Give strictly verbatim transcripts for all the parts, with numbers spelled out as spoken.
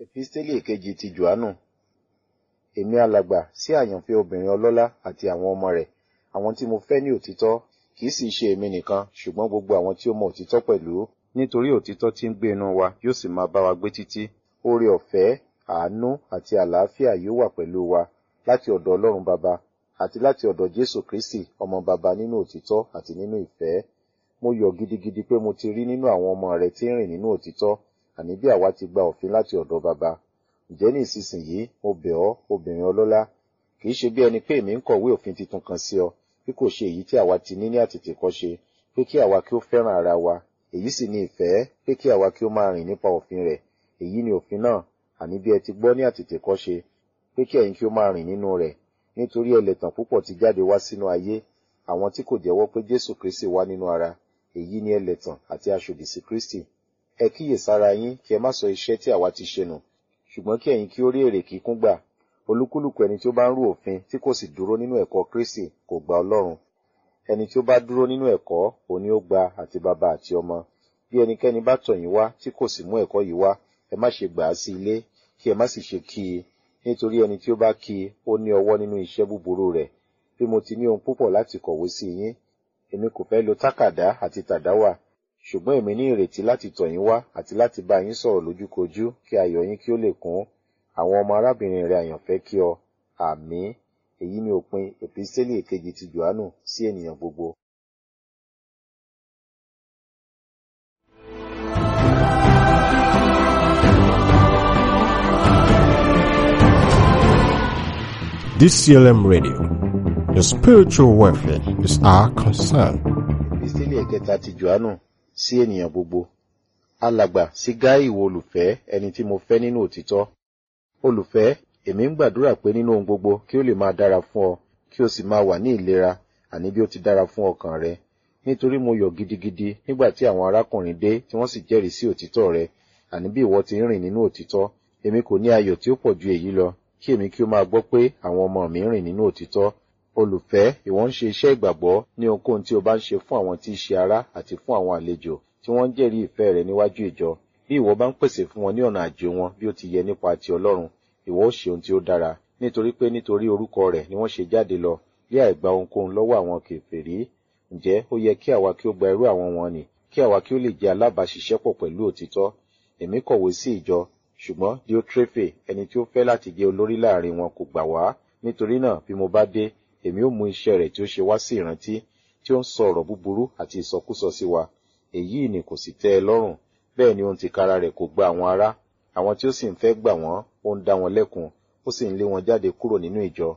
Episteli èkejì ti Jòhánù. Èmi alàgbà sí àyànfẹ́ obìnrin ọlọ́lá àti àwọn ọmọ rẹ̀, àwọn tí mo fẹ́ ní òtítọ́, kì í sì ṣe èmi nìkan, ṣùgbọ́n gbogbo àwọn tí ó mọ òtítọ́ pẹ̀lú, nítorí òtítọ́ tí ń gbé inú wa yóò sì máa bá wa gbé títí. Oore ọ̀fẹ́, àánú àti àlàáfíà yóò wà pẹ̀lú wa láti ọ̀dọ̀ Ọlọ́run Baba àti láti ọ̀dọ̀ Jésù Kristi, ọmọ Baba nínú òtítọ́ àti nínú ìfẹ́. Mo yọ̀ gidigidi pé mo ti rí nínú àwọn ọmọ rẹ tí ń rìn nínú òtítọ́, àní bí àwa ti gba òfin láti ọ̀dọ̀ Baba. Ǹjẹ́ ní ìsinsìnyí mo bẹ̀ ọ́, obìnrin ọlọ́lá, kì í ṣe bí ẹni pé èmi ń kọ̀wé òfin titun kan sí ọ, bí kò ṣe èyí tí àwa ti ní ní àtètèkọ́ṣe, pé kí àwa kí ó fẹ́ràn ara wa. Èyí sì ni ìfẹ́, pé kí àwa kí ó máa rìn nípa òfin rẹ̀. Èyí ni òfin náà, àní bí ẹ ti gbọ́ ní àtètèkọ́ṣe, pé kí ẹ̀yin kí ó máa rìn nínú rẹ̀. Nítorí ẹlẹ̀tàn púpọ̀ ti jáde wá sínú ayé, àwọn tí kò jẹ́wọ́ pé Jésù Kristi wá nínú ara. Èyí ni ẹlẹ̀tàn àti aṣòdì sí Kristi. Ẹ kíyèsára yín kí ẹ má sọ iṣẹ́ tí àwa ti ṣe nù, ṣùgbọ́n kí ẹ̀yin kí ó rí èrè kíkún gbà. Olúkúlùkù ẹni tí ó bá ń rú òfin tí kò sì dúró nínú ẹ̀kọ́ Kristi kò gba Ọlọ́run. Ẹni tí ó bá dúró nínú ẹ̀kọ́, òun ni ó gba àti baba àti ọmọ. Bí ẹnikẹ́ni bá tọ̀ yín wá tí kò sì mú ẹ̀kọ́ yìí wá, ẹ má ṣe gbà á sí ilé, kí ẹ má sì ṣe kí i. Nítorí ẹni tí ó bá kí i, ó ní ọwọ́ nínú iṣẹ́ búburú rẹ̀. Bí mo ti ní ohun púpọ̀ láti kọ̀wé sí yín, èmi kò fẹ́ lo tákàdá àti tàdáwà, ṣùgbọ́n èmi ní ìrètí láti tọ̀ yín wá àti láti bá yín sọ̀rọ̀ lójúkojú kí ayọ̀ yín kí ó lè kún. Àwọn ọmọ arábìnrin rẹ àyànfẹ́ kí ọ. Àmín. Èyí ni òpin Episteli èkejì ti Jòhánù sí ènìyàn gbogbo. D C L M Radio, your spiritual welfare is our concern. Episteli ẹ̀kẹta ti Jòhánù sí ènìyàn gbogbo. Alàgbà sí Gáì ìwọ olùfẹ́, ẹni tí mo fẹ́ nínú òtítọ́. Olùfẹ́, èmi ń gbàdúrà pé nínú ohun gbogbo kí ó lè máa dára fún ọ, kí o sì máa wà ní ìlera, àní bí ó ti dára fún ọkàn rẹ. Nítorí mo yọ̀ gidigidi nígbà tí àwọn arákùnrin dé tí wọ́n sì jẹ́rìí sí òtítọ́ rẹ, àní bí ìwọ ti ń rìn nínú òtítọ́. Èmi kò ní ayọ̀ tí ó pọ̀ ju èyí lọ, kí èmi kí ó máa gbọ́ pé àwọn ọmọ mi ń rìn nínú òtítọ́. Olùfẹ́, ìwọ ń ṣe iṣẹ́ ìgbàgbọ́ ní ohunkóhun tí o bá ń ṣe fún àwọn tí í ṣe ará àti fún àwọn àlejò tí wọ́n ń jẹ́rìí ìfẹ́ rẹ níwájú ìjọ. Bí ìwọ bá ń pèsè fún wọn ní ọ̀nà àjò wọn bí ó ti yẹ nípa ti Ọlọ́run, ìwọ ó ṣe ohun tí ó dára, nítorí pé nítorí orúkọ rẹ̀ ni wọ́n ṣe jáde lọ, bí àìgba ohunkóhun lọ́wọ́ àwọn kèfèrí. Ǹjẹ́ ó yẹ kí àwa kí ó gba irú àwọn wọn nì, kí àwa kí ó lè jẹ́ alábàáṣiṣẹ́pọ̀ pẹ̀lú òtítọ́. Èmi kọ̀wé sí ìjọ, ṣùgbọ́n Diotrefe, ẹni tí ó fẹ́ láti jẹ́ olórí láàrin wọn kò gbà wá. Nítorí náà bí mo bá dé, èmi ó mú iṣẹ́ rẹ̀ tí ó ṣe wá sí ìrántí, tí ó ń sọ ọ̀rọ̀ búburú àti ìsọkúsọ sí wa. Èyí ni kò sì tẹ́ ẹ lọ́rùn. Bẹ́ẹ̀ ni ohun tìkára rẹ̀ kò gba àwọn ará. Àwọn tí ó sì ń fẹ́ gbà wọ́n, ó ń dá wọn lẹ́kun, ó sì ń lé wọn jáde kúrò nínú ìjọ.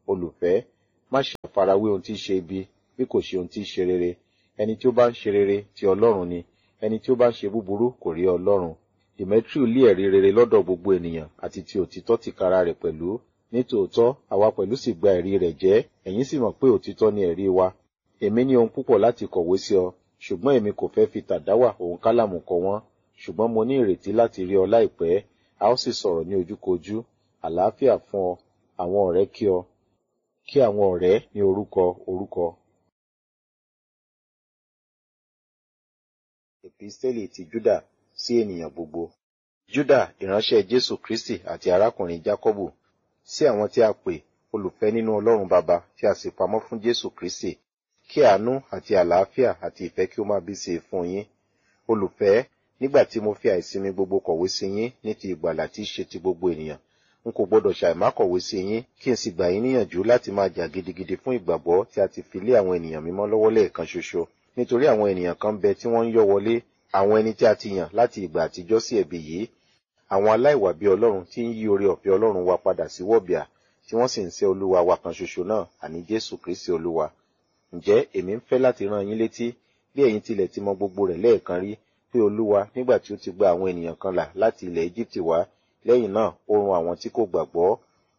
Olùfẹ́, má ṣe farawé ohun tí í ṣe ibi, bí kò ṣe ohun tí í ṣe rere. Ẹni tí ó bá ń ṣe rere ti Ọlọ́run ni, ẹni tí ó bá ń ṣe búburú kò rí Ọlọ́run. Demetriu lé ẹ̀rí rere lọ́dọ̀ gbogbo ènìyàn àti ti òtítọ́ tìkára rẹ̀ pẹ̀lú. Nítòótọ́, àwa pẹ̀lú sì gba ẹ̀rí rẹ̀ jẹ́, ẹ̀yin sì mọ̀ pé òtítọ́ ni ẹ̀rí wa. Èmi ní ohun púpọ̀ láti kọ̀wé sí ọ, ṣùgbọ́n èmi kò fẹ́ fi tàdáwà òun kálàmù kọ wọ́n. Ṣùgbọ́n mo ní ìrètí láti rí ọ láìpẹ́, a ó sì sọ̀rọ̀ ní ojúkojú. Àlàáfíà fún ọ, àwọn ọ̀rẹ́ kí ọ. Kí àwọn ọ̀rẹ́ ní orúkọ orúkọ. Episteli ti Júdà sí ènìyàn gbogbo. Júdà, ìránṣẹ́ Jésù Kristi àti arákùnrin Jákọ́bù, sí àwọn tí a pè olùfẹ́ nínú Ọlọ́run Baba tí a sì pamọ́ fún Jésù Kristi, kí àánú àti àlàáfíà àti ìfẹ́ kí ó máa bí sí i fún yín. Olùfẹ́, nígbà tí mo fi àìsinmi gbogbo kọ̀wé sí yín ní ti ìgbàlà tí í ṣe ti gbogbo ènìyàn, n kò gbọdọ̀ ṣàìmá kọ̀wé sí yín kí n sì gbà yín níyànjú láti máa jà gidigidi fún ìgbàgbọ́ tí a ti fi lé àwọn ènìyàn mímọ́ lọ́wọ́ lẹ́ẹ̀kan ṣoṣo. Nítorí àwọn ènìyàn kan bẹ tí wọ́n ń yọ́ wọlé, àwọn ẹni tí a ti yàn láti ìgbà àtijọ́ sí ẹ̀bi yìí, àwọn aláìwà bí Ọlọ́run tí ń yí oore ọ̀fẹ́ Ọlọ́run wa padà sí wọ̀bìà, tí wọ́n sì ń sẹ́ Olúwa wa kan ṣoṣo náà, àní Jésù Kristi Olúwa. Ǹjẹ́ èmi ń fẹ́ láti rán yín létí, bí ẹ̀yin tilẹ̀ ti mọ gbogbo rẹ̀ lẹ́ẹ̀kan rí, pé Olúwa nígbà tí ó ti gba àwọn ènìyàn kan là láti ilẹ̀ Égíptì wá, lẹ́yìn náà ó run àwọn tí kò gbàgbọ́,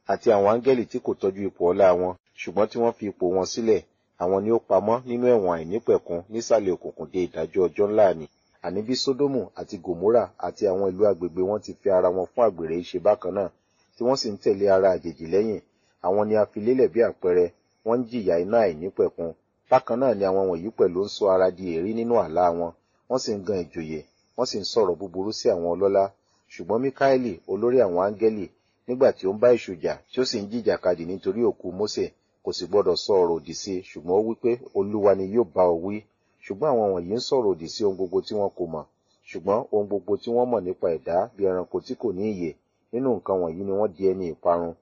àti àwọn áńgẹ́lì tí kò tọ́jú ipò ọlá wọn, ṣùgbọ́n tí wọ́n fi ipò wọn sílẹ̀, àwọn ni ó pamọ́ nínú ẹ̀wọ̀n àìnípẹ̀kun nísàlẹ̀ òkùnkùn dé ìdájọ́ ọjọ́ ńlá nì. Àní bí Sódómù àti Gòmórà àti àwọn ìlú agbègbè wọn ti fi ara wọn fún àgbèrè ṣe bákan náà, tí wọ́n sì ń tẹ̀lé ara àjèjì lẹ́yìn, àwọn ni a fi lélẹ̀ bí àpẹẹrẹ, wọ́n ń jìyà iná àìnípẹ̀kun. Bákan náà ni àwọn wọ̀nyí pẹ̀lú ń sọ ara di èérí nínú àlá wọn, wọ́n sì ń gan ìjòyè, wọ́n sì ń sọ̀rọ̀ búburú sí àwọn ọlọ́lá. Ṣùgbọ́n Míkáélì, olórí àwọn áńgẹ́lì, nígbà tí ó ń bá èṣù jà, tí ó sì ń jìjàkadì nítorí òkú Mósè, kò sì gbọdọ̀ sọ ọ̀rọ̀ òdì sí i, ṣùgbọ́n ó wí pé, Olúwa ni yóò bá ọ wí. Ṣùgbọ́n àwọn wọ̀nyí ń sọ̀rọ̀ òdì sí ohun gbogbo tí wọn kò mọ̀. Ṣùgbọ́n ohun gbogbo tí wọ́n mọ̀ nípa ẹ̀dá bí ẹranko tí kò ní ìyè, nínú nǹkan wọ̀nyí ni wọ́n di ẹni ìparun.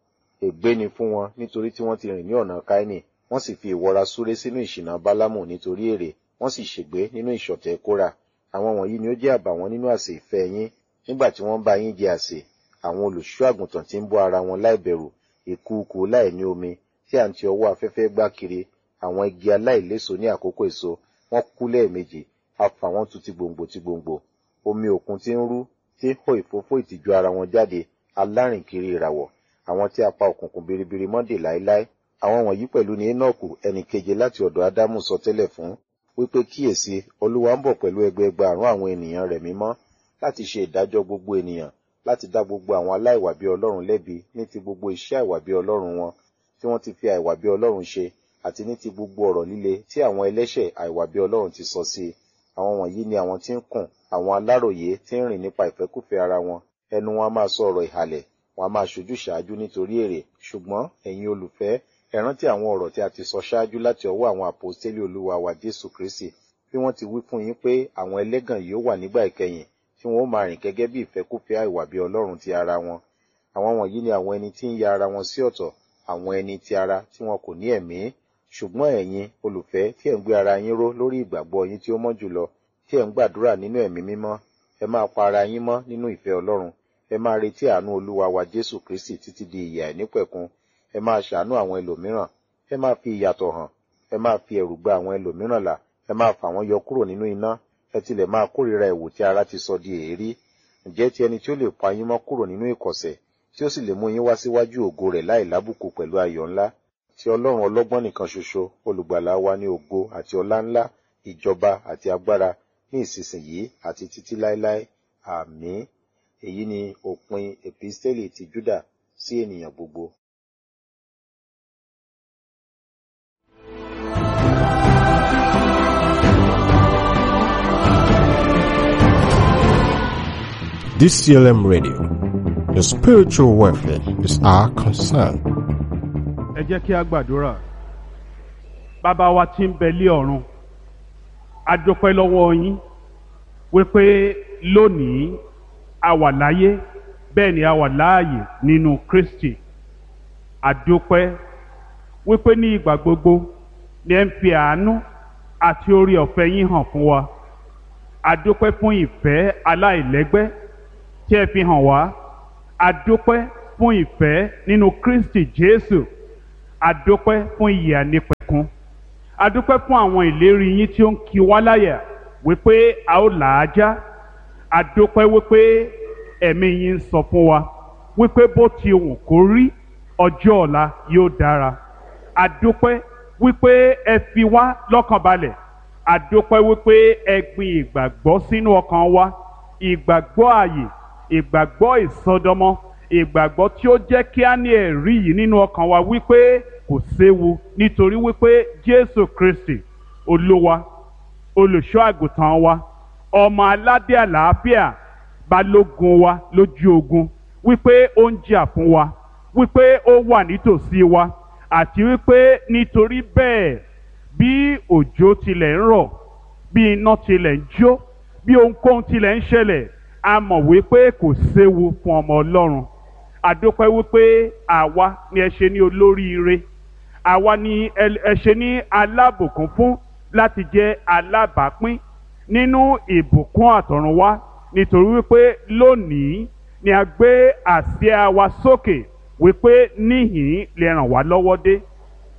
Ègbé ni fún wọn nítorí tí wọ́n ti rìn ní ọ̀nà Káínì, wọ́n sì fi ìwọra súré sínú ìṣìnà Bálámù nítorí èrè, wọ́n sì ṣègbé nínú ìṣọ̀tẹ̀ Kórà. Àwọn wọ̀nyí ni ó jẹ́ àbàwọ́n nínú àsè ìfẹ́ yín, nígbà tí wọ́n bá yín jẹ àsè, àwọn olùṣọ́ àgùntàn tí ń bọ́ ara wọn láìbẹ̀rù, ìkùukùu láìní omi, tí à ń ti ọwọ́ afẹ́fẹ́ gbá kiri, àwọn igi aláìléso ní àkókò èso, wọ́n kú lẹ́ẹ̀mejì, a fà wọ́n tu ti gbòǹgbò ti gbòǹgbò. Omi òkun tí ń rú, tí ń hó ìfófó ìtìjú ara wọn jáde, alárìnkiri ìràwọ̀, àwọn tí a pa òkùnkùn biribiri mọ́ dè láéláé. Àwọn wọ̀nyí pẹ̀lú ni Énọ́kù ẹnì keje láti ọ̀dọ̀ Ádámù sọ tẹ́lẹ̀ fún, wípé kíyèsí, Olúwa ń bọ̀ pẹ̀lú ẹgbẹẹgbàárún àwọn ènìyàn rẹ̀ mímọ́, láti ṣe ìdájọ́ gbogbo ènìyàn, láti dá gbogbo àwọn aláìwà bí Ọlọ́run lẹ́bi ní ti gbogbo iṣẹ́ àìwà bí Ọlọ́run wọn, tí wọ́n ti fi àìwà bí Ọlọ́run ṣe, àti ní ti gbogbo ọ̀rọ̀ líle tí àwọn ẹlẹ́ṣẹ̀ àìwà bí Ọlọ́run ti sọ sí i. Àwọn wọ̀nyí ni àwọn tí ń kùn, àwọn aláròyé tí ń rìn nípa ìfẹ́kúfẹ̀ẹ́ ara wọn, ẹnu wọn a máa sọ ọ̀rọ̀ ìhàlẹ̀, wọn a máa ṣojúṣàájú nítorí èrè. Ṣùgbọ́n ẹ̀yin olùfẹ́, ẹ rántí àwọn ọ̀rọ̀ tí a ti sọ ṣáájú láti ọwọ́ àwọn àpọ́stélì Olúwa wa Jésù Kristi, bí wọ́n ti wí fún yín pé àwọn ẹlẹ́gàn yóò wà nígbà ìkẹyìn, tí wọn ó máa rìn gẹ́gẹ́ bí ìfẹ́kúfẹ̀ẹ́ àìwà bí Ọlọ́run ti ara wọn. Àwọn wọ̀nyí ni àwọn ẹni tí ń ya ara wọn sí ọ̀tọ̀, àwọn ẹni ti ara tí wọn kò ní ẹ̀mí. Ṣùgbọ́n ẹ̀yin, olùfẹ́, tí ẹ̀ ń gbé ara yín ró lórí ìgbàgbọ́ yín tí ó mọ́ jùlọ, tí ẹ̀ ń gbàdúrà nínú ẹ̀mí mímọ́, ẹ máa pa ara yín mọ́ nínú ìfẹ́ Ọlọ́run. Ẹ máa retí àánú Olúwa wa Jésù Kristi títí di ìyè àìnípẹ̀kun. Ẹ máa ṣàánú àwọn ẹlòmíràn, ẹ máa fi ìyàtọ̀ hàn, ẹ máa fi ẹ̀rù gba àwọn ẹlòmíràn là, ẹ máa fà wọ́n yọ kúrò nínú iná, ẹ tilẹ̀ máa kórìíra ẹ̀wù tí ara ti sọ di èérí. Ǹjẹ́ ti ẹni tí ó lè pa yín mọ́ kúrò nínú ìkọ̀sẹ̀, tí ó sì lè mú yín wá síwájú ògo rẹ̀ láìlábùkù pẹ̀lú ayọ̀ ńlá, tí Ọlọ́run ọlọ́gbọ́n nìkan ṣoṣo, olùgbàlà wa ní ògo àti ọlá ńlá, ìjọba àti agbára ní ìsinsìnyí àti títí láéláé. Àmín. Èyí ni òpin Episteli ti Júdà sí ènìyàn gbogbo. D C L M Radio, the spiritual welfare is our concern. Ẹ jẹ́ kí a gbàdúrà. Bàbá wa tí ń bẹ lé ọ̀run, a dúpẹ́ lọ́wọ́ yín wípé lónìí a wà láyé, bẹ́ẹ̀ ni a wà láàyè nínú Kristi. A dúpẹ́ wípé ní ìgbà gbogbo ni ẹ ń fi àánú àti oore ọ̀fẹ́ yín hàn fún wa. A dúpẹ́ fún ìfẹ́ aláìlẹ́gbẹ́ tí ẹ fi hàn wá. A dúpẹ́ fún ìfẹ́ nínú Kristi Jésù. A dúpẹ́ fún ìyè àìnípẹ̀kun. A dúpẹ́ fún àwọn ìlérí yín tí ó ń kí wá láyà wípé a ó là á já. A dúpẹ́ wípé ẹ̀mí yín ń sọ fún wa wípé bó ti wù kó rí, ọjọ́ ọ̀la yóò dára. A dúpẹ́ wípé ẹ fi wá lọ́kàn balẹ̀. A dúpẹ́ wípé ẹ gbin ìgbàgbọ́ sínú ọkàn wa, ìgbàgbọ́ ààyè, ìgbàgbọ́ ìsọdọmọ, ìgbàgbọ́ tí ó jẹ́ kí á ní ẹ̀rí yìí nínú ọkàn wa wípé kò séwu, nítorí wípé Jésù Kristi Olúwa, olùṣọ́ àgùntàn wa, ọmọ aládé àlàáfíà, balógun wa lójú ogun, wípé ó ń jà fún wa, wípé ó wà nítòsí wa, àti wípé nítorí bẹ́ẹ̀ bí òjò tilẹ̀ ń rọ̀, bí iná tilẹ̀ ń jó, bí ohunkóhun tilẹ̀ ń ṣẹlẹ̀, a mọ̀ wípé kò séwu fún ọmọ Ọlọ́run. A dúpẹ́ wípé àwa ni ẹ ṣe ní olóríire, àwa ni ẹ ṣe ní alábùkún fún láti jẹ́ alábàápín nínú ìbùkún àtọ̀runwá, nítorí wípé lónìí ni a gbé àsíá wa sókè wípé níhìn lè ràn wá lọ́wọ́ dé.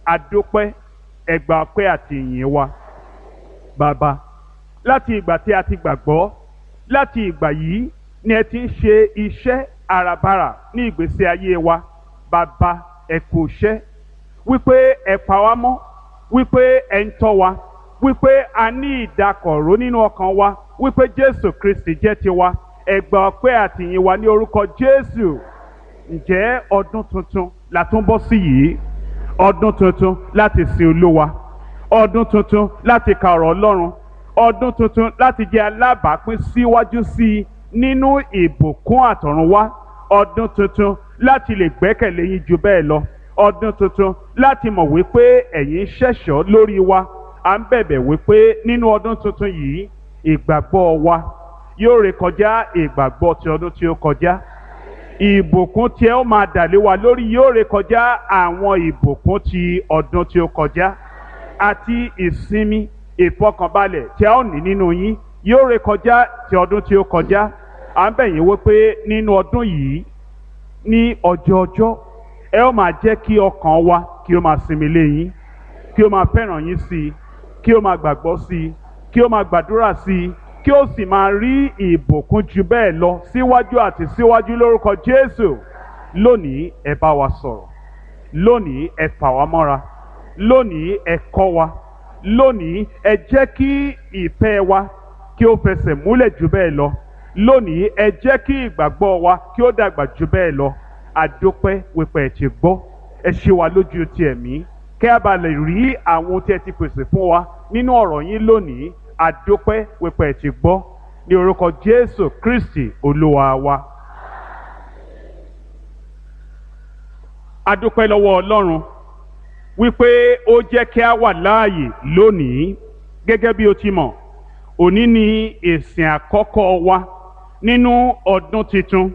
A dúpẹ́, ẹ gbà ọpẹ́ àti ìyìn wa. Bàbá, láti ìgbà tí a ti gbàgbọ́, láti ìgbà yìí ni ẹ ti ń ṣe iṣẹ́ àràbarà ní ìgbésí ayé wa. Bàbá, ẹ kú iṣẹ́ wípé ẹ pa wá mọ́, wípé ẹ ń tọ́ wa, wípé a ní ìdákọ̀ró nínú ọkàn wa, wípé Jésù Kristi jẹ́ tiwa. Ẹ gbà ọpẹ́ àti ìyìn wa ní orúkọ Jésù. Ǹjẹ́ ọdún tuntun la tún bọ́ sí yìí? Ọdún tuntun láti sin Olúwa, ọdún tuntun láti ka ọ̀rọ̀ Ọlọ́run, ọdún tuntun láti jẹ́ alábàápín síwájú sí i nínú ìbùkún àtọ̀runwá, ọdún tuntun láti lè gbẹ́kẹ̀lé yín ju bẹ́ẹ̀ lọ, ọdún tuntun láti mọ̀ wípé ẹ̀yin ṣẹ̀ṣọ́ lórí wa. À ń bẹ̀bẹ̀ wípé nínú ọdún tuntun yìí ìgbàgbọ́ wa yóò rékọjá ìgbàgbọ́ ti ọdún tí ó kọjá. Ìbùkún tí ẹ ó máa dà lé wa lórí yóò rékọjá àwọn ìbùkún ti ọdún tí ó kọjá, àti ìsinmi ìfọkànbalẹ̀ tí a ó ní nínú yín yóò rékọjá ti ọdún tí ó kọjá. À ń bẹ̀ yín wípé nínú ọdún yìí ní ọjọọjọ́ ẹ ó máa jẹ́ kí ọkàn wa kí ó máa sinmi lé yín, kí ó máa fẹ́ràn yín sí i, kí ó máa gbàgbọ́ sí i, kí ó máa gbàdúrà sí i, kí ó sì máa rí ìbùkún ju bẹ́ẹ̀ lọ síwájú àti síwájú lórúkọ Jésù. Lónìí ẹ bá wa sọ̀rọ̀, lónìí ẹ fà wá mọ́ra, lónìí ẹ kọ́ wa, lónìí ẹ jẹ́ kí ìfẹ́ wa kí ó fẹsẹ̀ múlẹ̀ ju bẹ́ẹ̀ lọ, lónìí ẹ jẹ́ kí ìgbàgbọ́ wa kí ó dàgbà ju bẹ́ẹ̀ lọ. Àdópẹ́ wípé ẹ ti gbọ́, ẹ ṣe wa lójú ti ẹ̀mí kí a bá lè rí àwọn ohun tí ẹ ti pèsè fún wa nínú ọ̀rọ̀ yín lónìí. Àdópẹ́ wípé ẹ ti gbọ́, ní orúkọ Jésù Kristi Olúwa wa. Àdópẹ́ lọ́wọ́ Ọlọ́run wípé ó jẹ́ kí a wà láàyè lónìí. Gẹ́gẹ́ bí o ti mọ̀, òní ni ìsìn àkọ́kọ́ wa nínú ọdún tuntun,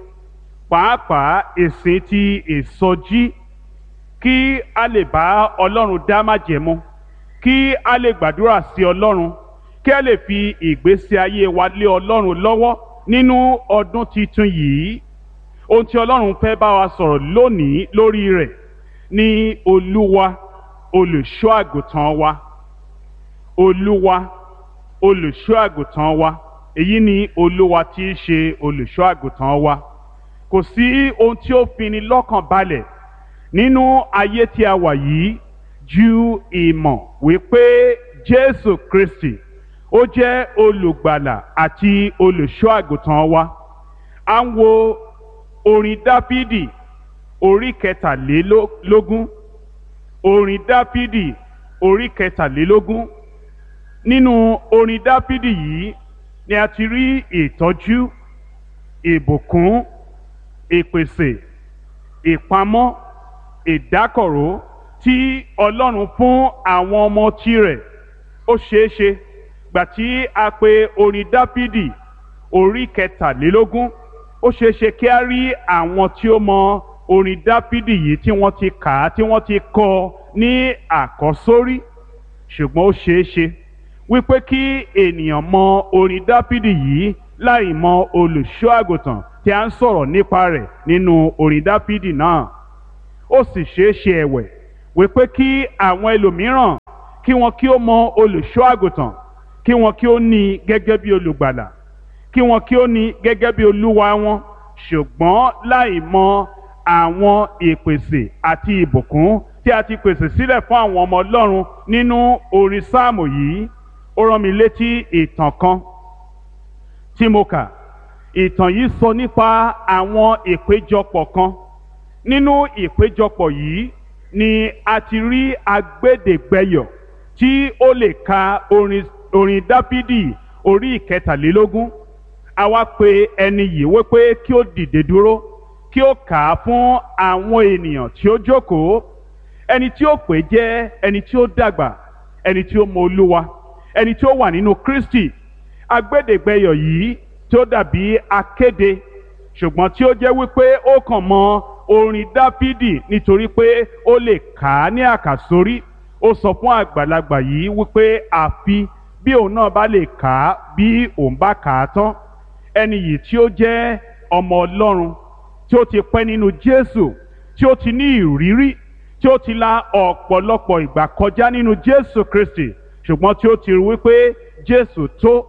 pàápàá ìsìn ti ìsọjí, kí a lè bá Ọlọ́run dá májẹ̀mú, kí a lè gbàdúrà sí Ọlọ́run, kí a lè fi ìgbésí ayé wa lé Ọlọ́run lọ́wọ́ nínú ọdún tuntun yìí. Ohun tí Ọlọ́run fẹ́ bá wa sọ̀rọ̀ lónìí lórí rẹ̀ ni Olúwa olùṣọ́ àgùntàn wa. Olúwa olùṣọ́ àgùntàn wa. Èyí ni Olúwa tí í ṣe olùṣọ́ àgùntàn wa. Kò sí ohun tí ó fini lọ́kàn balẹ̀ nínú ayé tí a wà yìí ju ìmọ̀ wípé Jésù Kristi ó jẹ́ olùgbàlà àti olùṣọ́ àgùntàn wa. À ń wo orin Dáfídì orí kẹtàlélógún. Orin Dáfídì orí kẹtàlélógún. Nínú orin Dáfídì yìí ni a ti rí ìtọ́jú, ìbùkún, ìpèsè, ìpamọ́, ìdákọ̀ró tí Ọlọ́run fún àwọn ọmọ tirẹ̀. Ó ṣeéṣe gbà tí a pe orin Dáfídì orí kẹtàlélógún, ó ṣeéṣe kí a rí àwọn tí ó mọ orin Dáfídì yìí tí wọ́n ti kà á, tí wọ́n ti kọ ní àkọ́sórí. Ṣùgbọ́n ó ṣeéṣe wípé kí ènìyàn mọ orin Dáfídì yìí láì mọ olùṣọ́ àgùntàn tí a ń sọ̀rọ̀ nípa rẹ̀ nínú orin Dáfídì náà. Ó sì ṣeéṣe ẹ̀wẹ̀ wípé kí àwọn ẹlòmíràn kí wọn kí ó mọ olùṣọ́ àgùntàn, kí wọn kí ó ní i gẹ́gẹ́ bí olùgbàlà, kí wọn kí ó ní i gẹ́gẹ́ bí olúwa wọn, ṣùgbọ́n láì mọ àwọn ìpèsè àti ìbùkún tí a ti pèsè sílẹ̀ fún àwọn ọmọ Ọlọ́run nínú orin sáàmù yìí. Ó rán mi létí ìtàn kan tí mo kà. Ìtàn yìí sọ nípa àwọn ìpéjọpọ̀ kan. Nínú ìpéjọpọ̀ yìí ni a ti rí agbẹ́dẹ̀gbẹ́yọ̀ tí ó lè ka orin orin Dáfídì orí ìkẹtàlélógún. A wá pe ẹni yìí wípé kí ó dìde dúró, kí ó kà á fún àwọn ènìyàn tí ó jókòó. Ẹni tí ó pè jẹ́ ẹni tí ó dàgbà, ẹni tí ó mọ Olúwa, ẹni tí ó wà nínú Kristi. Agbẹ́dẹ̀gbẹ́yọ̀ yìí tí ó dàbí akéde, ṣùgbọ́n tí ó jẹ́ wípé ó kàn mọ orin Dáfídì nítorí pé ó lè kà á ní àkàsórí. Ó sọ fún àgbàlagbà yìí wípé àfi bí òun náà bá lè kà á, bí òun bá kà á tán. Ẹni yìí tí ó jẹ́ ọmọ Ọlọ́run, tí ó ti pẹ́ nínú Jésù, tí ó ti ní ìrírí, tí ó ti la ọ̀pọ̀lọpọ̀ ìgbà kọjá nínú Jésù Kristi, ṣùgbọ́n tí ó ti rí wípé Jésù tó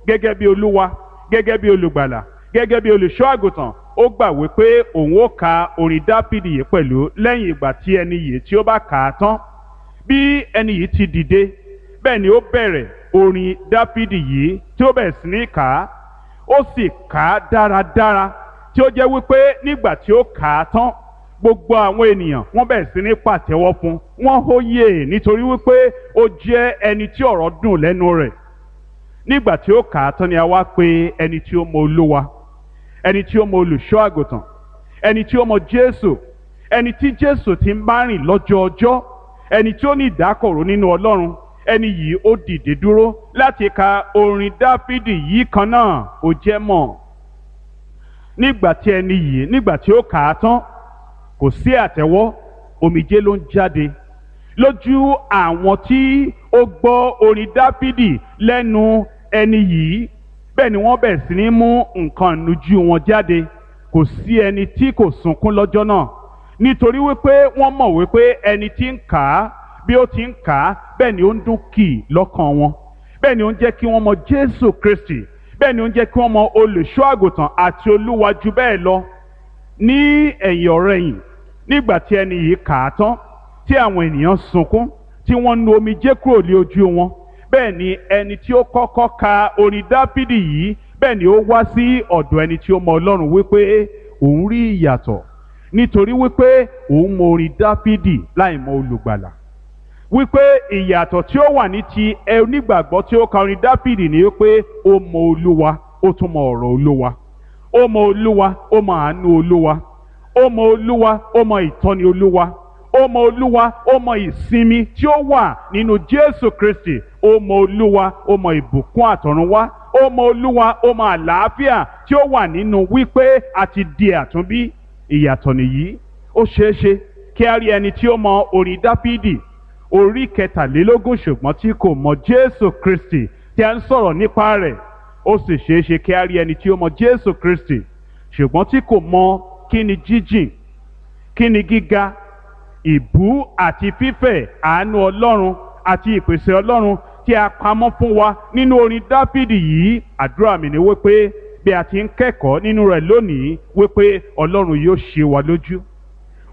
gẹ́gẹ́ bí Olúwa, gẹ́gẹ́ bí olùgbàlà, gẹ́gẹ́ bí olùṣọ́ àgùntàn. Ó gbà wípé òun ó ka orin Dáfídì yìí pẹ̀lú lẹ́yìn ìgbà tí ẹni yìí tí ó bá kà á tán. Bí ẹni yìí ti dìde, bẹ́ẹ̀ ni ó bẹ̀rẹ̀ orin Dáfídì yìí tí ó bẹ̀rẹ̀ sí ní kà á. Ó sì kà á dáradára, tí ó jẹ́ wípé nígbà tí ó kà á tán, gbogbo àwọn ènìyàn wọ́n bẹ̀rẹ̀ sí ní pàtẹ́wọ́ fún wọ́n hóyè nítorí wípé ó jẹ́ ẹni tí ọ̀rọ̀ dùn lẹ́nu rẹ̀. Nígbà tí ó kà á tán ni a wá pe ẹni tí ó mọ Olúwa, Ẹni tí ó mọ olùṣọ́ àgùntàn, ẹni tí ó mọ Jésù, ẹni tí Jésù ti ń bá rìn lọ́jọ́ ọjọ́, ẹni tí ó ní ìdákọ̀ró nínú Ọlọ́run, ẹni yìí ó dìde dúró láti ka orin Dáfídì yìí kan náà. Ó jẹ́ mọ̀ nígbà tí ẹni yìí, nígbà tí ó kà á tán, kò sí àtẹ́wọ́, omijé ló ń jáde lójú àwọn tí ó gbọ́ orin Dáfídì lẹ́nu ẹni yìí. Bẹ́ẹ̀ ni wọ́n bẹ̀rẹ̀ sí ní mú nǹkan ìnujú wọn jáde. Kò sí ẹni tí kò sunkún lọ́jọ́ náà, nítorí wípé wọ́n mọ̀ wípé ẹni tí ń kà á, bí ó ti ń kà á, bẹ́ẹ̀ ni ó ń dún kì lọ́kàn wọn, bẹ́ẹ̀ ni ó ń jẹ́ kí wọ́n mọ Jésù Kristi, bẹ́ẹ̀ ni ó ń jẹ́ kí wọ́n mọ olùṣọ́ àgùntàn àti Olúwa jù bẹ́ẹ̀ lọ. Ní ẹ̀yìn ọ̀rẹ̀yìn, nígbà tí ẹni yìí kà á tán, tí àwọn ènìyàn sunkún, tí wọ́n nu omijé kúrò lé ojú wọn, bẹ́ẹ̀ ni ẹni tí ó kọ́kọ́ ka orin Dáfídì yìí, bẹ́ẹ̀ ni ó wá sí ọ̀dọ̀ ẹni tí ó mọ Ọlọ́run wípé òun rí ìyàtọ̀, nítorí wípé òun mọ orin Dáfídì láì mọ olùgbàlà. Wípé ìyàtọ̀ tí ó wà ní ti onígbàgbọ́ tí ó ka orin Dáfídì ni wípé ó mọ Olúwa, ó tún mọ ọ̀rọ̀ Olúwa. Ó mọ Olúwa, ó mọ àánú Olúwa. Ó mọ Olúwa, ó mọ ìtọ́ni Olúwa. Ó mọ Olúwa, ó mọ ìsinmi tí ó wà nínú Jésù Kristi. Ó mọ Olúwa, ó mọ ìbùkún àtọ̀runwá. Ó mọ Olúwa, ó mọ àlàáfíà tí ó wà nínú wípé a ti di àtúnbí. Ìyàtọ̀ nìyí. Ó ṣeé ṣe kí a rí ẹni tí ó mọ orin Dáfídì orí kẹtàlélógún ṣùgbọ́n tí kò mọ Jésù Kristi tí a ń sọ̀rọ̀ nípa rẹ̀. Ó sì ṣeé ṣe kí a rí ẹni tí ó mọ Jésù Kristi ṣùgbọ́n tí kò mọ kí ni jíjìn, kí ni gíga, ìbú àti fífẹ̀ àánú Ọlọ́run àti ìpèsè Ọlọ́run tí a pamọ́ fún wa nínú orin Dáfídì yìí. Àdúrà mi ni wípé bí a ti ń kẹ́kọ̀ọ́ nínú rẹ̀ lónìí, wípé Ọlọ́run yóò ṣe wa lójú,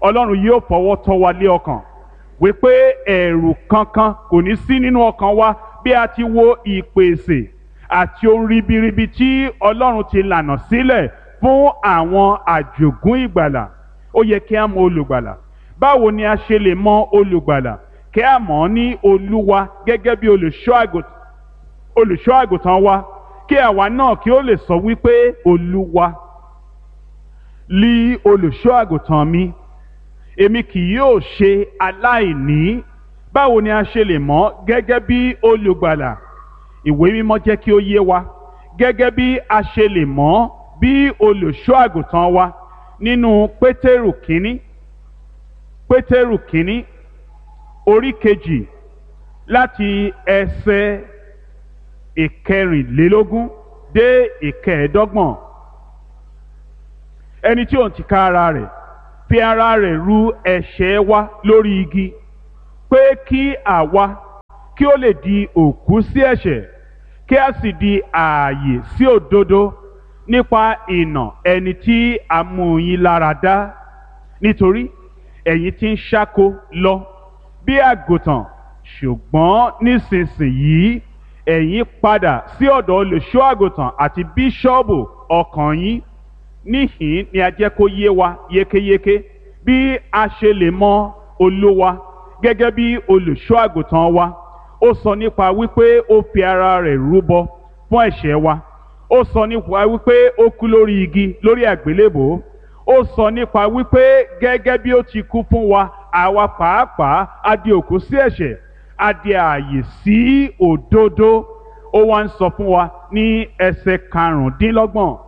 Ọlọ́run yóò fọwọ́ tọ́ wa lé ọkàn, wípé ẹ̀rù kankan kò ní sí nínú ọkàn wa bí a ti wo ìpèsè àti ohun ribiribi tí Ọlọ́run ti lànà sílẹ̀ fún àwọn àjògún ìgbàlà. Ó yẹ kí a mọ olùgbàlà. Báwo ni a ṣe lè mọ olùgbàlà? Kí a mọ̀ ọ́ ní Olúwa gẹ́gẹ́ bí olùṣọ́ àgùntàn wa, kí àwa náà kí ó lè sọ wípé Olúwa lí olùṣọ́ àgùntàn mi, èmi kì yóò ṣe aláìní. Báwo ni a ṣe lè mọ̀ gẹ́gẹ́ bí olùgbàlà? Ìwé mímọ́ jẹ́ kí ó yé wa gẹ́gẹ́ bí a ṣe lè mọ̀ bí olùṣọ́ àgùntàn wa nínú Pétérù kínní, Pétérù kínní orí kejì láti ẹsẹ̀ ìkẹrìnlélógún dé ìkẹẹ̀ẹ́dọ́gbọ̀n. Ẹni tí òun ti ká ara rẹ̀ fi ara rẹ̀ ru ẹ̀ṣẹ̀ wa lórí igi, pé kí àwa kí ó lè di òkú sí ẹ̀ṣẹ̀, kí a sì di ààyè sí òdodo nípa ìnà ẹni tí a mú yín lára dá. Nítorí ẹ̀yin ti ń ṣáko lọ bí àgùntàn, ṣùgbọ́n nísinsìnyí ẹ̀yin padà sí ọ̀dọ̀ olùṣọ́ àgùntàn àti bíṣọ́ọ̀bù ọkàn yín. Níhìn ni a jẹ́ kó yé wa yékéyéké bí a ṣe lè mọ Olúwa gẹ́gẹ́ bí olùṣọ́ àgùntàn wa. Ó sọ nípa wípé ó fi ara rẹ̀ rúbọ fún ẹ̀ṣẹ̀ wa. Ó sọ nípa wípé ó kú lórí igi lórí àgbélébòó. Ó sọ nípa wípé gẹ́gẹ́ bí ó ti kú fún wa, àwa pàápàá a di òkú sí ẹ̀ṣẹ̀, a di ààyè sí òdodo. Ó wá ń sọ fún wa ní ẹsẹ̀ karùndínlọ́gbọ̀n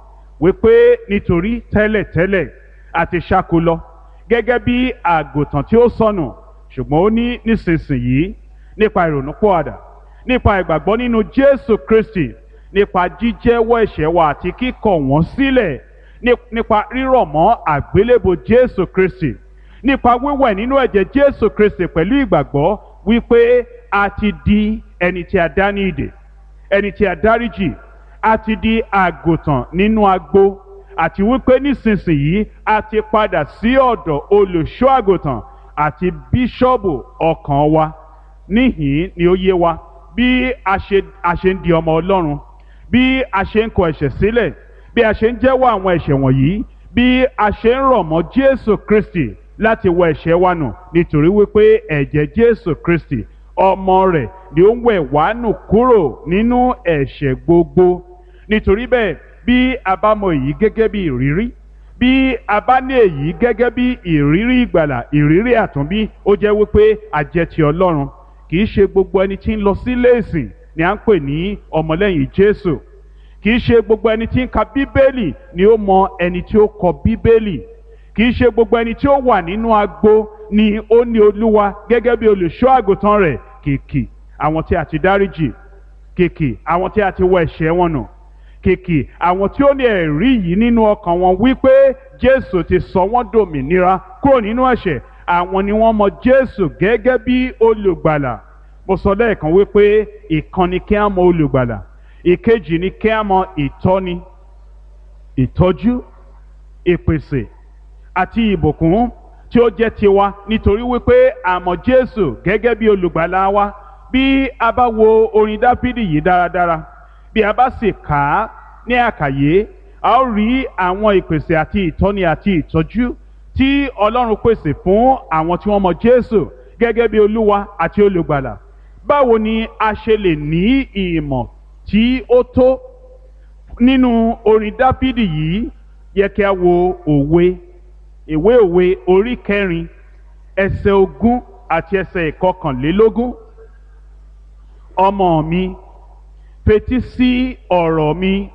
wípé nítorí tẹ́lẹ̀tẹ́lẹ̀ a ti ṣáko lọ gẹ́gẹ́ bí àgùntàn tí ó sọnù, ṣùgbọ́n ó ní nísinsìnyí nípa ìrònúpìwàdà, nípa ìgbàgbọ́ nínú Jésù Kristi, nípa jíjẹ́wọ́ ẹ̀ṣẹ̀ wa àti kíkọ̀ wọ́n sílẹ̀, nípa rírọ̀ mọ́ àgbélébò Jésù Kristi, nípa wíwẹ̀ nínú ẹ̀jẹ̀ Jésù Kristi pẹ̀lú ìgbàgbọ́ wípé a ti di ẹni tí a dá ní ìdè, ẹni tí a dáríjì, a ti di àgùntàn nínú agbo, àti wípé nísinsìnyí a ti padà sí ọ̀dọ̀ olùṣọ́ àgùntàn àti bíṣọ́ọ̀bù ọkàn wa. Níhìn ni ó yé wa bí a ṣe a ṣe ń di ọmọ Ọlọ́run, bí a ṣe ń kọ ẹ̀ṣẹ̀ sílẹ̀, bí a ṣe ń jẹ́wọ́ àwọn ẹ̀ṣẹ̀ wọ̀nyí, bí a ṣe ń rọ̀ mọ́ Jésù Kristi láti wọ ẹ̀ṣẹ̀ wa nù, nítorí wípé ẹ̀jẹ̀ Jésù Kristi ọmọ rẹ̀ ni ó ń wẹ̀ wá nù kúrò nínú ẹ̀ṣẹ̀ gbogbo. Nítorí bẹ́ẹ̀, Bí a bá mọ èyí gẹ́gẹ́ bí ìrírí, bí a bá ní èyí gẹ́gẹ́ bí ìrírí ìgbàlà, ìrírí àtúnbí, ó jẹ́ wípé a jẹ́ ti Ọlọ́run. Kì í ṣe gbogbo ẹni tí ń lọ sílé ìsìn ni à ń pè ní ọmọlẹ́yìn Jésù. Kì í ṣe gbogbo ẹni tí ń ka Bíbélì ni ó mọ ẹni tí ó kọ Bíbélì. Kì í ṣe gbogbo ẹni tí ó wà nínú agbo ni ó ní Olúwa gẹ́gẹ́ bí olùṣọ́ àgùntàn rẹ̀. Kìkì àwọn tí a ti dáríjì, kìkì àwọn tí a ti wọ ẹ̀ṣẹ̀ wọn nù, kìkì àwọn tí ó ní ẹ̀rí yìí nínú ọkàn wọn wípé Jésù ti sọ wọ́n dòmìnira kúrò nínú ẹ̀ṣẹ̀, àwọn ni wọ́n mọ Jésù gẹ́gẹ́ bí olùgbàlà. Mo sọ lẹ́ẹ̀kan wípé ìkan ni kí á mọ olùgbàlà, ìkejì ni kí á mọ ìtọ́ni, ìtọ́jú, ìpèsè àti ìbùkún tí ó jẹ́ tiwa, nítorí wípé a mọ̀ Jésù gẹ́gẹ́ bí olùgbàlà wa. Bí a bá wo orin Dáfídì yìí dáradára, bí a bá sì kà á ní àkàyé, a ó rí àwọn ìpèsè àti ìtọ́ni àti ìtọ́jú tí Ọlọ́run pèsè fún àwọn tí wọ́n mọ̀ Jésù gẹ́gẹ́ bí Olúwa àti olùgbàlà. Báwo ni a ṣe lè ní ìmọ̀ tí ó tó nínú orin Dáfídì yìí? Yẹ kí a wo òwe, ìwé òwe orí kẹrin, ẹsẹ̀ ogún àti ẹsẹ̀ ìkọkànlélógún. Ọmọ mi, fetí sí ọ̀rọ̀ mi,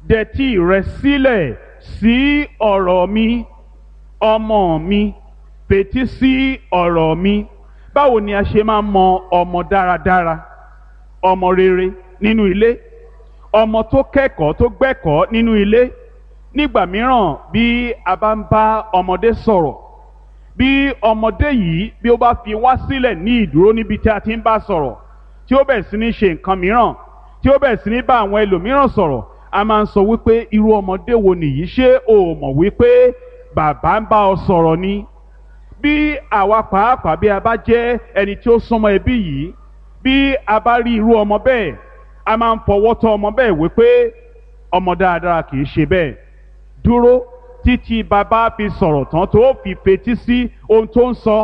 dẹtí rẹ sílẹ̀ sí ọ̀rọ̀ mi. Ọmọ mi, fetí sí ọ̀rọ̀ mi. Báwo ni a ṣe máa mọ ọmọ dáradára, ọmọ rere nínú ilé, ọmọ tó kẹ́kọ̀ọ́ tó gbẹ́kọ̀ọ́ nínú ilé? Nígbà mìíràn bí a bá ń bá ọmọdé sọ̀rọ̀, bí ọmọdé yìí bí ó bá fi wá sílẹ̀ ní ìdúró níbi tí a ti ń bá sọ̀rọ̀, tí ó bẹ̀rẹ̀ sí ní ṣe nǹkan mìíràn, tí ó bẹ̀rẹ̀ sí ní bá àwọn ẹlòmíràn sọ̀rọ̀, a máa ń sọ wípé irú ọmọdé wo nìyí, ṣé o mọ̀ wípé bàbá ń bá ọ sọ̀rọ̀ ni? Bí àwa pàápàá bí a bá jẹ́ ẹni tí ó súnmọ́ ẹbí yìí, bí a bá rí irú ọmọ bẹ́ẹ̀, a máa ń fọwọ́ tọ́ ọmọ bẹ́ẹ̀ wípé ọmọ dáadáa kì í ṣe bẹ́ẹ̀. Dúró títí bàbá fi sọ̀rọ̀ tán tó fi fetí sí ohun tó ń sọ,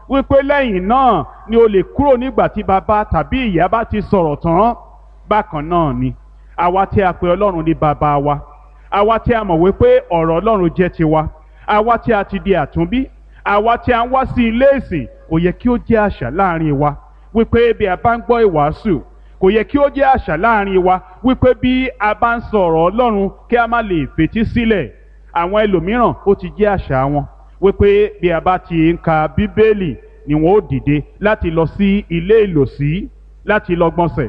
wípé lẹ́yìn náà ni o lè kúrò nígbà tí bàbá tàbí ìyá bá ti sọ̀rọ̀ tán. Bákan náà ni àwa tí a pè Ọlọ́run ní bàbá wa, àwa tí a mọ̀ wípé ọ̀rọ̀ Ọlọ́run jẹ́ tiwa, àwa tí a ti di àtúnbí, àwa tí a ń wá sí ilé ìsìn, kò yẹ kí ó jẹ́ àṣà láàrin wa wípé bí a bá ń gbọ́ ìwàásù, kò yẹ kí ó jẹ́ àṣà láàrin wa wípé bí a bá ń sọ̀rọ̀ Ọlọ́run kí a má lè fetí sílẹ̀. Àwọn ẹlòmíràn ó ti jẹ́ àṣà wọn wípé bí a bá ti ń ka Bíbélì ni wọn ó dìde láti lọ sí ilé ìlòsí láti lọ gbọ̀nsẹ̀.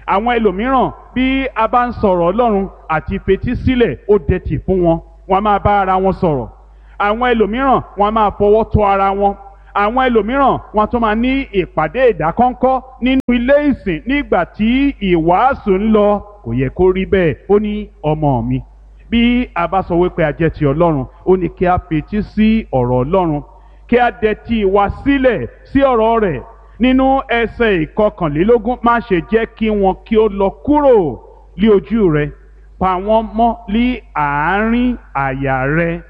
Àwọn ẹlòmíràn bí a bá ń sọ̀rọ̀ Ọlọ́run àti fetí sílẹ̀ ó dẹ̀tì fún wọn, wọn máa bá ara wọn sọ̀rọ̀. Àwọn ẹlòmíràn wọn máa fọwọ́ tọ́ ara wọn. Àwọn ẹlòmíràn wọn tún máa ní ìpàdé ìdákọ́ńkọ́ nínú ilé ìsìn nígbà tí ìwàásù ń lọ. Kò yẹ kó rí bẹ́ẹ̀. Ó ní ọmọ mi, bí a bá sọ wípé a jẹ́ ti Ọlọ́run, ó ní kí a fetí sí ọ̀rọ̀ Ọlọ́run, kí a dẹ̀tí wa sílẹ̀ sí ọ̀rọ̀ rẹ̀. Nínú ẹsẹ̀ ìkọkànlélógún, má ṣe jẹ́ kí wọn kí ó lọ kúrò lí ojú rẹ, pa wọ́n mọ́ lí àárín àyà rẹ,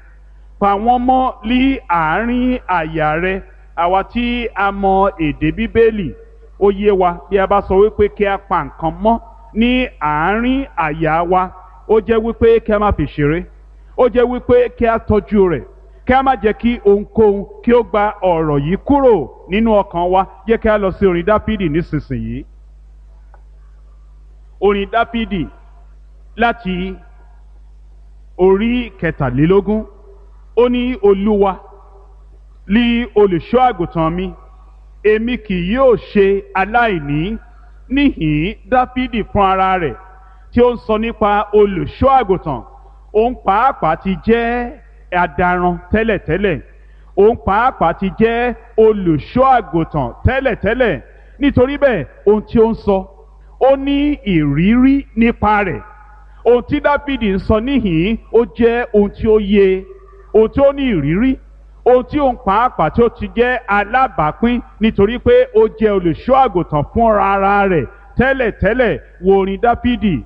pa wọ́n mọ́ lí àárín àyà rẹ. Àwa tí a mọ èdè Bíbélì, ó yé wa bí a bá sọ wípé kí a pa nǹkan mọ́ ní àárín àyà wa, ó jẹ́ wípé kí a má fi ṣeré, ó jẹ́ wípé kí a tọ́jú rẹ̀, kí a má jẹ́ kí ohunkóhun kí ó gba ọ̀rọ̀ yìí kúrò nínú ọkàn wa. Jẹ́ kí a lọ sí orin Dáfídì nísinsìnyí. Orin Dáfídì láti orí kẹtàlélógún. Ó ní Olúwa lí olùṣọ́ àgùntàn mi, èmi kì yóò ṣe aláìní. Níhìn Dáfídì fún ara rẹ̀ tí ó ń sọ nípa olùṣọ́ àgùntàn, òun pàápàá ti jẹ́ adaran tẹ́lẹ̀tẹ́lẹ̀, òun pàápàá ti jẹ́ olùṣọ́ àgùntàn tẹ́lẹ̀tẹ́lẹ̀. Nítorí bẹ́ẹ̀ ohun tí ó ń sọ, ó ní ìrírí nípa rẹ̀. Ohun tí Dáfídì ń sọ níhìn ó jẹ́ ohun tí ó yé, ohun tí ó ní ìrírí, ohun tí òun pàápàá tí ó ti jẹ́ alábàápín, nítorí pé ó jẹ́ olùṣọ́ àgùntàn fúnra ara rẹ̀ tẹ́lẹ̀tẹ́lẹ̀. Wo orin Dáfídì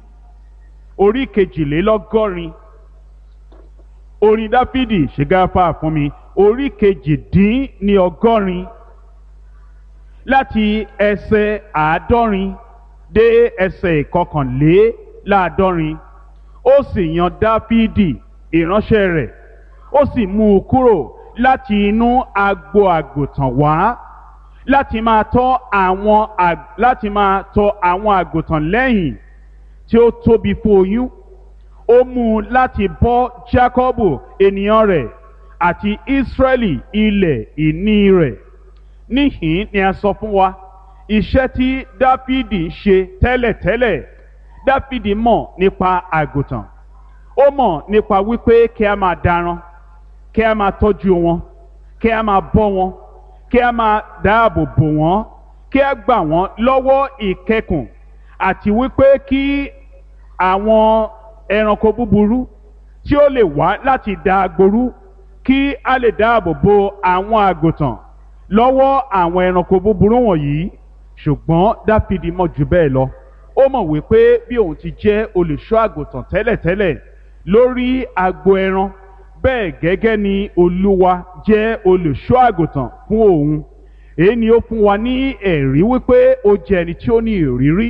orí kejìlélọ́gọ́rin. Orin Dáfídì, ṣègáfà fún mi, orí kejìdínní ọgọ́rin láti ẹsẹ̀ àádọ́rin dé ẹsẹ̀ ìkọkànléláàádọ́rin. Ó sì yan Dáfídì ìránṣẹ́ rẹ̀, ó sì mú un kúrò láti inú agbo àgùntàn wá, láti máa tọ́ àwọn láti máa tọ́ àwọn àgùntàn lẹ́yìn tí ó tóbi fún oyún. Ó mú un láti bọ́ Jákọ́bù ènìyàn rẹ̀ àti Ísírẹ́lì ilẹ̀ ìní rẹ̀. Níhìn ni a sọ fún wa iṣẹ́ tí Dáfídì ń ṣe tẹ́lẹ̀tẹ́lẹ̀. Dáfídì mọ̀ nípa àgùntàn, ó mọ̀ nípa wípé kí a máa daran, kí a máa tọ́jú wọn, kí a máa bọ́ wọn, kí a máa dáàbò bò wọ́n, kí a gbà wọ́n lọ́wọ́ ìkẹkùn, àti wípé kí àwọn ẹranko búburú tí ó lè wá láti da agboru, kí a lè dáàbò bo àwọn àgùntàn lọ́wọ́ àwọn ẹranko búburú wọ̀nyí. Ṣùgbọ́n Dáfídì mọ̀ jù bẹ́ẹ̀ lọ. Ó mọ̀ wípé bí òun ti jẹ́ olùṣọ́ àgùntàn tẹ́lẹ̀tẹ́lẹ̀ lórí agbo ẹran, bẹ́ẹ̀ gẹ́gẹ́ ni Olúwa jẹ́ olùṣọ́ àgùntàn fún òun. Èyí ni ó fún wa ní ẹ̀rí wípé ó jẹ́ ẹni tí ó ní ìrírí,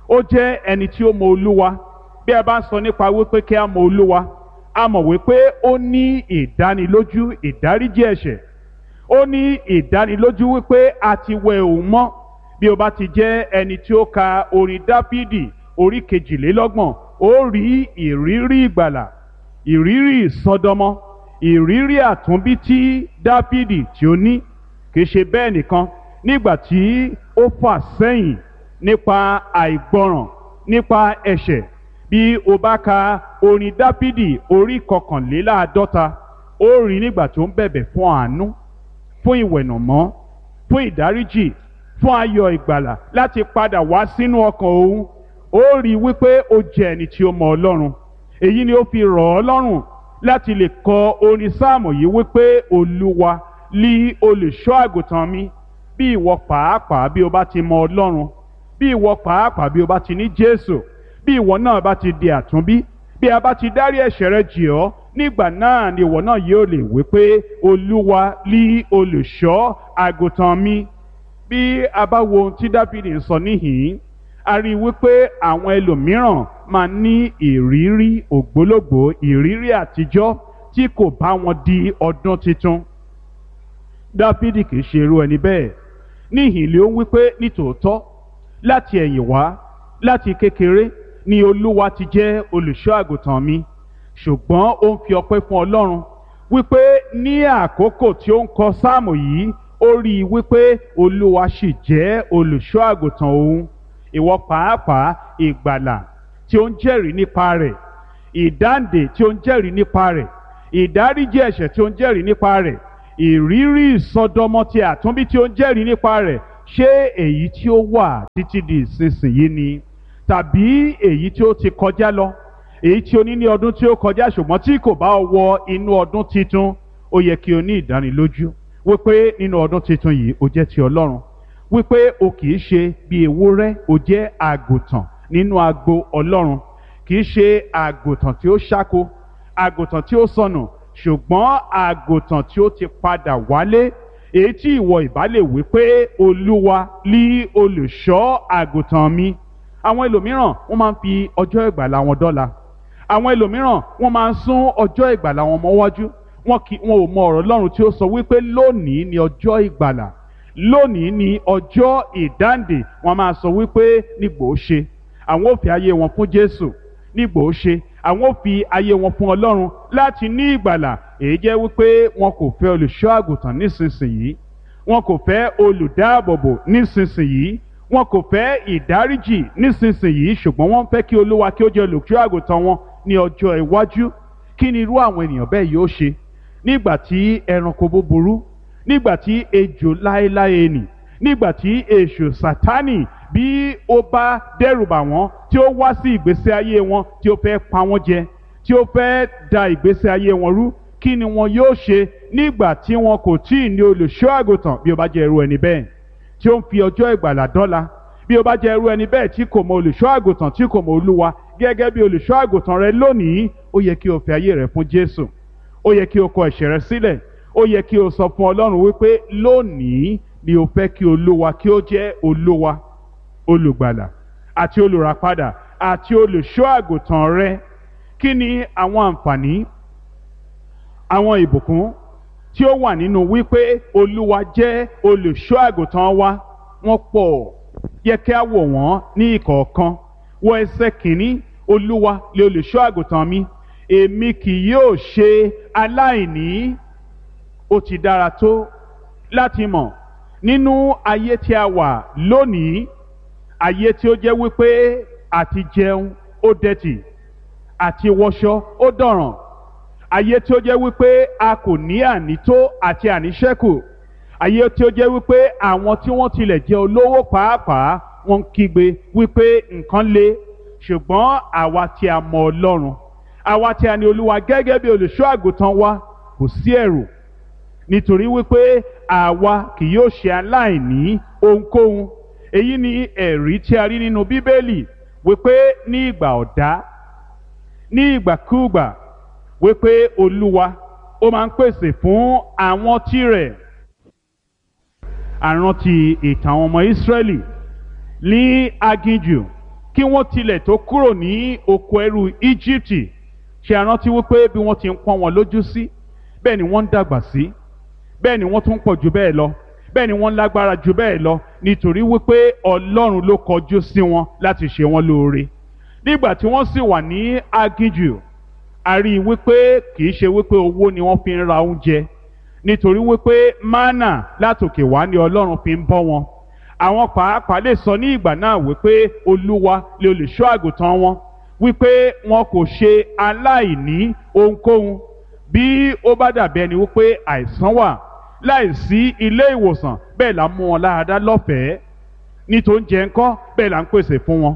ó jẹ́ ẹni tí ó mọ Olúwa. Bí a bá ń sọ nípa wípé kí a mọ Olúwa, a mọ̀ wípé ó ní ìdánilójú ìdáríjì ẹ̀ṣẹ̀, ó ní ìdánilójú wípé a ti wẹ òun mọ́. Bí o bá ti jẹ́ ẹni tí ó ka orin Dáfídì orí kejìlélọ́gbọ̀n, ó rí ìrírí ìgbàlà, ìrírí ìsọdọmọ, ìrírí àtúnbí tí Dáfídì tí ó ní. Kì í ṣe bẹ́ẹ̀ nìkan, nígbà tí ó fà sẹ́yìn nípa àìgbọràn, nípa ẹ̀ṣẹ̀, bí o bá ka orin Dáfídì orí kọkànléláàádọ́ta, ó rí nígbà tó ń bẹ̀bẹ̀ fún àánú, fún ìwẹ̀nàmọ́, fún ìdáríjì, fún ayọ̀ ìgbàlà láti padà wá sínú ọkàn òun. Ó rí wípé ó jẹ́ ẹni tí ó mọ Ọlọ́run. Èyí ni ó fi rọ̀ ọ́ lọ́rùn láti lè kọ orin sáàmù yìí wípé Olúwa lí olùṣọ́ àgùntàn mi. Bí ìwọ pàápàá bí o bá ti mọ Ọlọ́run, bí ìwọ pàápàá bí o bá ti ní Jésù, bí ìwọ náà bá ti di àtúnbí, bí a bá ti dárí ẹ̀ṣẹ̀ rẹ jì ọ́, nígbà náà ni ìwọ náà yóò lè wípé Olúwa lí olùṣọ́ àgùntàn mi. Bí a bá wo ohun tí Dáfídì ń sọ níhìn-ín, a rí i wípé àwọn ẹlòmíràn máa ní ìrírí ògbólógbòó, ìrírí àtijọ́ tí kò bá wọn di ọdún tuntun. Dáfídì kì í ṣe irú ẹni bẹ́ẹ̀. Níhìn-ín ló ń wípé nítòótọ́ láti ẹ̀yìn wá, láti kékeré ni Olúwa ti jẹ́ olùṣọ́ àgùntàn mi. Ṣùgbọ́n ó ń fi ọpẹ́ fún Ọlọ́run wípé ní àkókò tí ó ń kọ sáàmù yìí, ó rí i wípé Olúwa sì jẹ́ olùṣọ́ àgùntàn òun. Ìwọ pàápàá ìgbàlà tí ó ń jẹ́rìí nípa rẹ̀, ìdáǹdè tí ó ń jẹ́rìí nípa rẹ̀, ìdáríjì ẹ̀ṣẹ̀ tí ó ń jẹ́rìí nípa rẹ̀, ìrírí ìsọdọmọ ti àtúnbí tí ó ń jẹ́rìí nípa rẹ̀, ṣé èyí tí ó wà títí di ìsinsìnyí ni, tàbí èyí tí ó ti kọjá lọ, èyí tí o ní ní ọdún tí ó kọjá ṣùgbọ́n tí kò bá wọ inú ọdún titun? Ó yẹ kí o ní ìdánilójú wípé nínú ọdún titun yìí o jẹ́ ti Ọlọ́run, wípé o kì í ṣe bí ewúrẹ́, o jẹ́ àgùntàn nínú agbo Ọlọ́run. Kì í ṣe àgùntàn tí ó ṣáko, àgùntàn tí ó sọnù, ṣùgbọ́n àgùntàn tí ó ti padà wálé, èyí tí ìwọ ìbá lè wí pé Olúwa lí olùṣọ́ àgùntàn mi. Àwọn ẹlòmíràn wọ́n máa ń fi ọjọ́ ìgbàlà wọn dọ́là. Àwọn ẹlòmíràn wọ́n máa ń sún ọjọ́ ìgbàlà wọn mọ́wájú. Wọn kì wọn ò mọ ọ̀rọ̀ Ọlọ́run tí ó sọ wípé lónìí ni ọjọ́ ìgbàlà, lónìí ni ọjọ́ ìdáǹdè. Wọn máa sọ wípé nígbò ó ṣe àwọn ò fi ayé wọn fún Jésù, nígbò ó ṣe àwọn ò fi ayé wọn fún Ọlọ́run láti ní ìgbàlà. Èyí jẹ́ wípé wọn kò fẹ́ olùṣọ́ àgùntàn nísinsìnyí, wọn kò fẹ́ olùdáàbòbò nísinsìnyí, wọn kò fẹ́ ìdáríjì nísinsìnyí, ṣùgbọ́n wọ́n fẹ́ kí Olúwa kí ó jẹ́ olùṣọ́ àgùntàn wọn ní ọjọ́ iwájú. Kí ni irú àwọn ènìyàn bẹ́ẹ̀ yóò ṣe nígbà tí ẹranko búburú, nígbà tí ejò láéláé nì, nígbà tí èṣù Sátánì bí ó bá dẹ́rùbà wọ́n, tí ó wá sí ìgbésí ayé wọn, tí ó fẹ́ pa wọ́n jẹ, tí ó fẹ́ da ìgbésí ayé wọn rú? Kí ni wọn yóò ṣe nígbà tí wọn kò tí ì ní olùṣọ́ àgùntàn? Bí ó bá jẹ́ irú ẹni bẹ́ẹ̀ tí ó ń fi ọjọ́ ìgbàlà dọ́là, bí ó bá jẹ́ irú ẹni bẹ́ẹ̀ tí kò mọ olùṣọ́ àgùntàn, tí kò mọ Olúwa gẹ́gẹ́ bí olùṣọ́ àgùntàn rẹ lónìí, ó yẹ kí o fi ayé rẹ fún Jésù. Ó yẹ kí o kọ ẹ̀ṣẹ̀ rẹ sílẹ̀. Ó yẹ kí o sọ fún Ọlọ́run wípé lónìí ni o fẹ́ kí Olúwa kí ó jẹ́ Olúwa, olùgbàlà àti olùràpadà àti olùṣọ́ àgùntàn rẹ. Kí ni àwọn àǹfààní, àwọn ìbùkún tí ó wà nínú wípé Olúwa jẹ́ olùṣọ́ àgùntàn wa? Wọ́n pọ̀. Yẹ kí a wò wọ́n ní ìkọ̀ọ̀kan. Wọ ẹsẹ̀ kìíní: Olúwa lè olùṣọ́ àgùntàn mi, èmi kì yóò ṣe aláìní. Ó ti dára tó láti mọ̀ nínú ayé tí a wà lónìí, ayé tí ó jẹ́ wípé àti jẹun ó dẹ̀tì, àti wọṣọ ó dọ̀ràn, ayé tí ó jẹ́ wípé a kò ní ànító àti àníṣẹ́kù, ayé tí ó jẹ́ wípé àwọn tí wọ́n tilẹ̀ jẹ́ olówó pàápàá wọ́n ń kígbe wípé nǹkan le. Ṣùgbọ́n àwa tí a mọ Ọlọ́run, àwa tí a ní Olúwa gẹ́gẹ́ bí olùṣọ́ àgùntàn wa, kò sí ẹ̀rù, nítorí wípé àwa kì yóò ṣe aláìní ohunkóhun. Èyí ni ẹ̀rí tí a rí nínú Bíbélì wípé ní ìgbà ọ̀dá, ní ìgbàkúùgbà, wípé Olúwa ó máa ń pèsè fún àwọn tirẹ̀. Àrántí ìtàn àwọn ọmọ Ísírẹ́lì ní aginjù kí wọ́n tilẹ̀ tó kúrò ní oko ẹrú Íjíbítì. Ṣe àrántí wípé bí wọ́n ti ń pọ́n wọn lójú sí, bẹ́ẹ̀ ni wọ́n ń dàgbà sí, bẹ́ẹ̀ ni wọ́n tún pọ̀ jù bẹ́ẹ̀ lọ, bẹ́ẹ̀ ni wọ́n lágbára jù bẹ́ẹ̀ lọ, nítorí wípé Ọlọ́run ló kọjú sí wọn láti ṣe wọn lóore. Nígbà tí wọ́n sì wà ní aginjù, a rí i wípé kì í ṣe wípé owó ni wọ́n fi ń ra oúnjẹ, nítorí wípé mánà látòkè wá ni Ọlọ́run fi ń bọ́ wọn. Àwọn pàápàá lè sọ ní ìgbà náà wípé Olúwa lè olùṣọ́ àgùntàn wọn, wípé wọn kò ṣe aláìní ohunkóhun. Bí ó bá dàbí ẹni wípé àìsàn wà láìsí ilé ìwòsàn, bẹ́ẹ̀ là ń mú wọn láradá lọ́fẹ̀ẹ́. Ní tó ń jẹ ńkọ́, bẹ́ẹ̀ là ń pèsè fún wọn.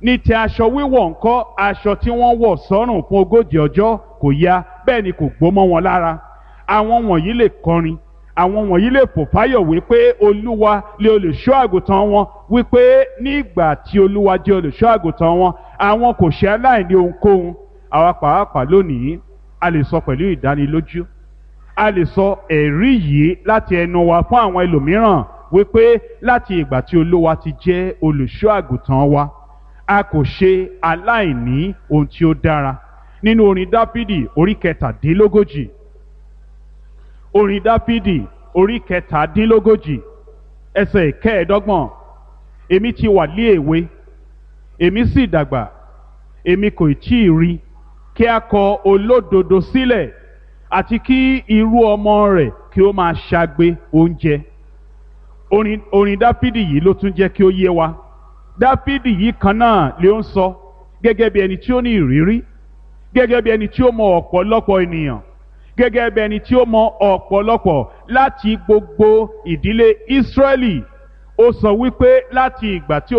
Ní ti aṣọ wíwọ̀ ńkọ́, aṣọ tí wọ́n wọ̀ sọ́rùn fún ogójì ọjọ́ kò ya, bẹ́ẹ̀ ni kò gbó mọ́ wọn lára. Àwọn wọ̀nyí lè kọrin, àwọn wọ̀nyí lè fò fáyọ̀ wípé Olúwa lè olùṣọ́ àgùntàn wọn, wípé nígbà tí Olúwa jẹ́ olùṣọ́ àgùntàn wọn, àwọn kò ṣe aláìní ohunkóhun. Àwa pàápàá lónìí, a lè sọ pẹ̀lú ìdánilójú, a lè sọ ẹ̀rí yìí láti ẹnu wa fún àwọn ẹlòmíràn wípé láti ìgbà tí Olúwa ti jẹ́ olùṣọ́ àgùntàn wa, a kò ṣe aláìní ohun tí ó dára. Nínú orin Dáfídì orí kẹtàdínlógójì, orin Dáfídì orí kẹtàdínlógójì ẹsẹ̀ ìkẹẹ̀ẹ́dọ́gbọ̀n: èmi ti wà lé èwe, èmi sì dàgbà, èmi kò tí ì rí kí a kọ olódodo sílẹ̀, àti kí irú ọmọ rẹ̀ kí ó máa ṣagbe oúnjẹ. Orin orin Dáfídì yìí ló tún jẹ́ kí ó yé wa. Dáfídì yìí kan náà ló ń sọ gẹ́gẹ́ bí ẹni tí ó ní ìrírí, gẹ́gẹ́ bí ẹni tí ó mọ ọ̀pọ̀lọpọ̀ ènìyàn, gẹ́gẹ́ bí ẹni tí ó mọ ọ̀pọ̀lọpọ̀ láti gbogbo ìdílé Ísírẹ́lì. Ó sọ wípé láti ìgbà tí